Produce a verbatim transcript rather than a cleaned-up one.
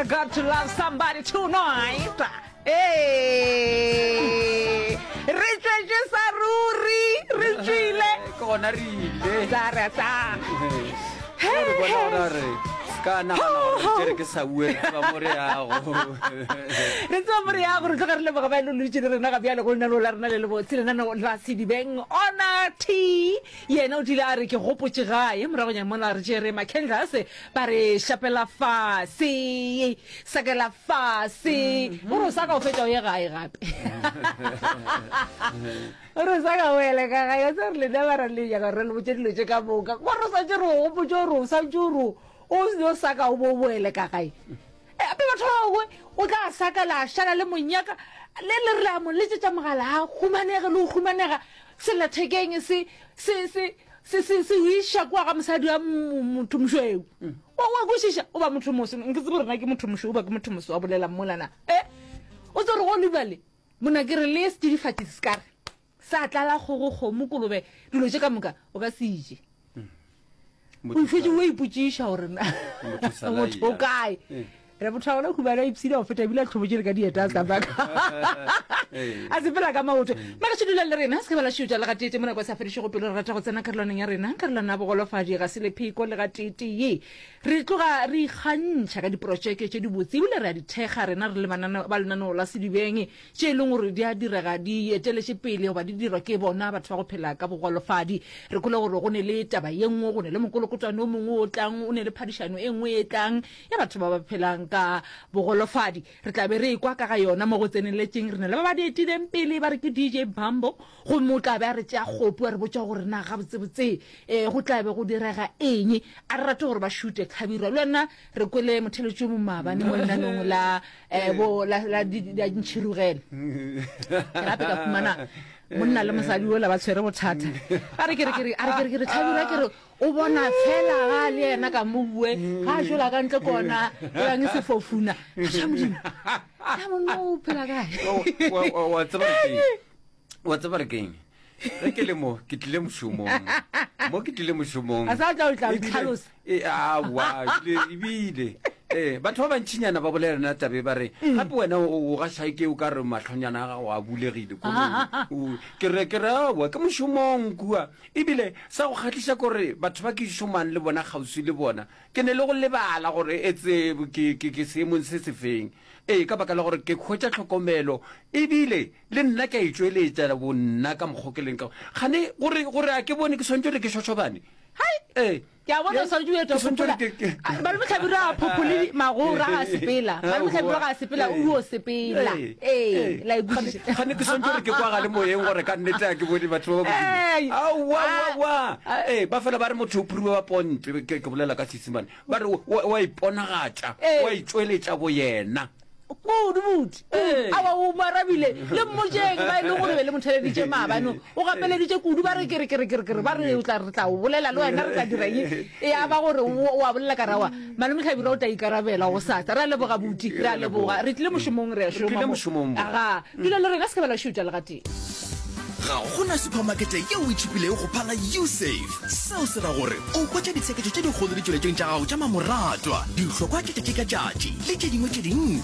I got to love somebody tonight. Hey, re tšwetše sa ruri, re tšwile. Ke gona re ile. Sa re sa. Re bona gore re ka nagana gore tšere ke sa bue, re tseba mo re yago. Re tseba mo re yago. Re tloga re leboga ba e le dutše le rena ga bjale go lenaneo la rena le lebotse, lenaneo la Sedibeng. Ona T yena o tlile a re ke gopotše gae moragonyana mola re tšere Macandlers ba re šapela fase, sakela fase. O re o sa ka o fetša o ye gae gape, o re o sa ka o ele ka gae. O tseba re lena ba ra le nyaka re le botše dilo tše ka moka, gore o santse re o gopotše gore o santse o re o o sa ka o bo o boele ka gae. Gape batho ba bangwe o tla saka la šala le monyaka le le re la mo letsetša mogala a humanege le go humanega sellathekeng se se se se se se o iša kua ga mosadi wa motho mošweu. O wa kwešiša o ba motho moso, nke tsebe gore na ke motho mošweu ba ke motho moso wa bolela molana e o tse re go lebale mona ke re le setsidifatši se ka re sa tlala kgogo kgomo kolobe dilo tše ka moka o ka se ije. O ifetše o ipotšiša gore na motho o kae. Re motho wa gona humana ipshina go feta ebile a tlhobotše le ka dieta a tsamaya a sepela ka maoto. Mara se dula le rena se ke ba la šiotša le gateete mo nako e sa fedišego pelo. Re rata go tsena karolwaneng ya rena, karolwana ya bogolofadi ga se lepheko le gateetee. Re tloga re ikgantšha ka diprotšeke tše dibotse ebile re a di thekga rena re le ba lenaneo la Sedibeng tše e leng gore di a direga di eteletše pele goba di dirwa ke bona batho ba go phela ka bogolofadi. Re kwele gore go ne le taba ye nngwe, go ne le mokolokotwane o mongwe o tlang, o ne le phadišano e nngwe e tlang ya batho ba ba phelang ka bogolofadi. Re tla be re ekwa ka ga yona mo go tseneletšeng. Re na le ba ba di etileng pele ba re ke D J Bambo, gomme o tla be a re tšea kgopu a re botša gore na gabotsebotse um go tla be go direga eng. A re rate gore ba šute Hlabirwa. Le wena re kwele motheletši o mongwe maabane mo lenanong la um bo la la la ntšhirugele. Ke gape ka fumana monna le mosadi ola ba tshwere bothata. Ba re ke re ke re a re ke re ke re Hlabirwa ke re o bona fela ga le yena ka mo bue ga a tšwela ka ntle kona e bang sefofuna. Aša Modimo, ya monna o phela kae? Wa tseba re keng? Wa tseba re keng? Ge ke le mo, ke tlile mošomong. Mo ke tlile mošomong. A sa tla o tla Ebile- ntlhalosa. E, aowa, ebile, ebile. Eh, batho ba bantšinyana ba bolela nna tabe ba re gape wena o o gaša ke o ka re mahlonyana a gago a bulegile ko o- ke re ke re aowa ke mošomong kua. Ebile sa go kgahliša kore batho ba ke šomang le bona kgauswi le bona ke ne le go lebala gore etse ke ke ke seemong se se feng. Ee, ka baka la gore ke hwetša tlhokomelo ebile le nna ke a itšweletša bonna ka mokgwa ke leng ka gane gore gore a ke bone ke swantse gore ke šošobane. Hai! Ee. Ke a bona o swanetše o eta Ke swantse phopola. gore ke- ke- Malome Hlabirwa a phophole magora a sepela. Malome Hlabirwa ga a sepela, o yo sepela. Ee. Ee, Ee. la e kwešiša. Gane ke swantse gore ke kwagale moyeng gore ka nnete a ke bone batho ba ba Ee. godimo. Aowa, Ah. aowa. Ee, ba fela ba re motho o phuriwe wa ponte, ke ke bolela ka Seesemane. Ba re o wa iponagatša, Ee. wa itšweletša boyena. Kudu buti. Ee. Aowa, o mo arabile. Le mmotšeng ba e leng gore be le motheleditše maabane. O gapeleditše kudu ba re ke re ke re ke re ke re ba re o tla re tla o bolela le wena re tla dira eng. E ya ba gore o o a bolela ka rawa. Malome Hlabirwa o tla ikarabela go sasa. Re a leboga buti, re a leboga. Re tlile mošomong re a Re tlile šoma mo. mošomong mo. Aga, dula le rena se ke ba la šutša le gatee. Ga gona supermarket yeo e tšhipilego go phala Usave. Seo se ra gore o hwetša ditsheketšo tše dikgolo ditšweletšong tša gago tša mamoratwa, dihlokwa tša tšatši ka tšatši le tše dingwe tše dintši.